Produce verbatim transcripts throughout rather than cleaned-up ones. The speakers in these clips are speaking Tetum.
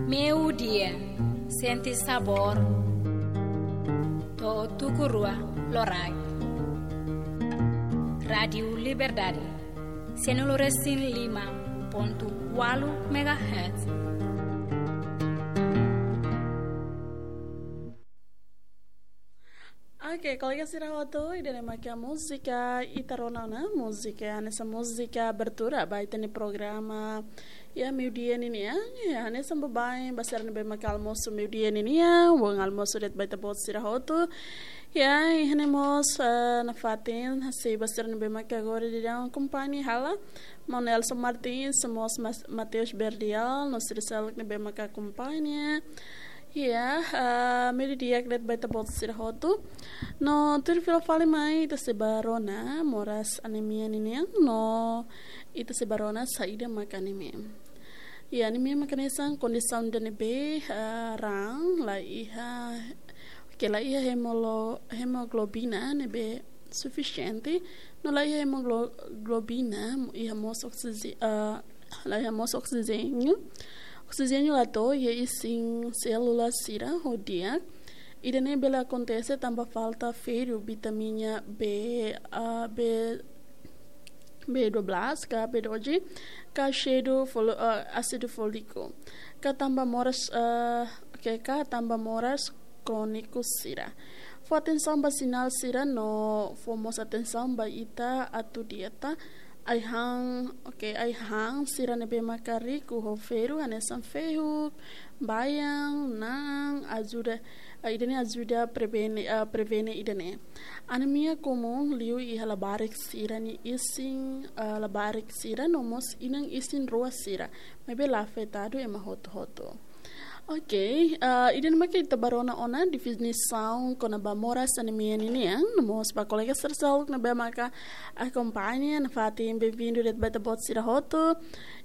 Meiudia, sente sabór. To'o tuku rua loraik. Rádiu Liberdade, cento e cinco e cinco ponto oito megahertz. Oke, kolega sira hotu, ida-ne'e mak múzika ita rona ona, múzika, hanesan múzika abertura ba ita-nia programa, ya, meiudia ninian, ya, hanesan baibain ba sira ne'ebé mak almosu meiudia ninian, bom almoço de'it ba ita-boot sira hotu. Ya, iha ne'e mós, eh, nafatin, sei ba sira ne'ebé mak agora daudaun akompaña hela, Maun Nelson Martins, mós Mas-, Mateus Berdial, no sira seluk ne'ebé mak akompaña. Ya, ah, meiudia di'ak de'it ba ita-boot sira hotu. No tuir fila fali mai, ita sei ba rona moras anemia ninian, no ita sei ba rona saida mak anemia. Ya, anemia mak hanesan kondisaun ida ne'ebé, ah, raan la iha, ke la iha hemolo-, hemoglobina ne'ebé sufisiente, no la iha hemoglobina, iha mós oksije-, ah, la iha mós oksijéniu. Oksijéniu la to'o iha isin sélula sira ho di'ak. Ida-ne'e bele akontese tanba falta ferru, vitamina B, ah, B, B dua belas, ka B doze, ka ásidu fol-, ah, ásidu fóliku. Ka tanba moras, ah, ke ka tanba moras króniku sira. Fó atensaun ba sinál sira no fó mós atensaun ba ita atu dieta. Ai-han, oke, ai-han sira ne'ebé maka riku ho ferru, hanesan fehuk, baian, na'an, ajuda, ah, ida-ne'e ajuda prevene, ah, prevene ida-ne'e. Anemia komún liu iha labarik sira nia isin, ah, labarik sira no mós inan isin-rua sira. Maibé la afetadu ema hotu-hotu. Oke, ah, ida-ne'e mak ita ba rona ona definisaun kona-ba moras anemia ninian, no mós ba kolega sira seluk ne'ebé maka akompaña, nafatin bem-vindo de'it ba ita-boot sira hotu.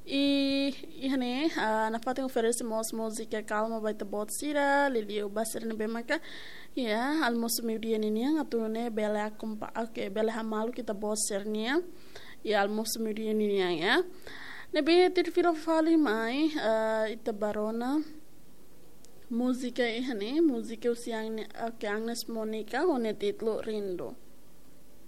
I, iha ne'e, ah, nafatin oferese mós múzika kalma ba ita-boot sira, liuliu ba sira ne'ebé maka, ya, almosu meiudia ninian, atu nune'e bele akompa-, oke, bele hamaluk ita-boot sira-nian iha almosu meiudia ninian, ya. Ne'ebé tuir fila fali mai, eh, ita ba rona múzika iha ne'e, múzika husi Agne-, eh, ke Agnes Monica, ho nia títulu Rindu.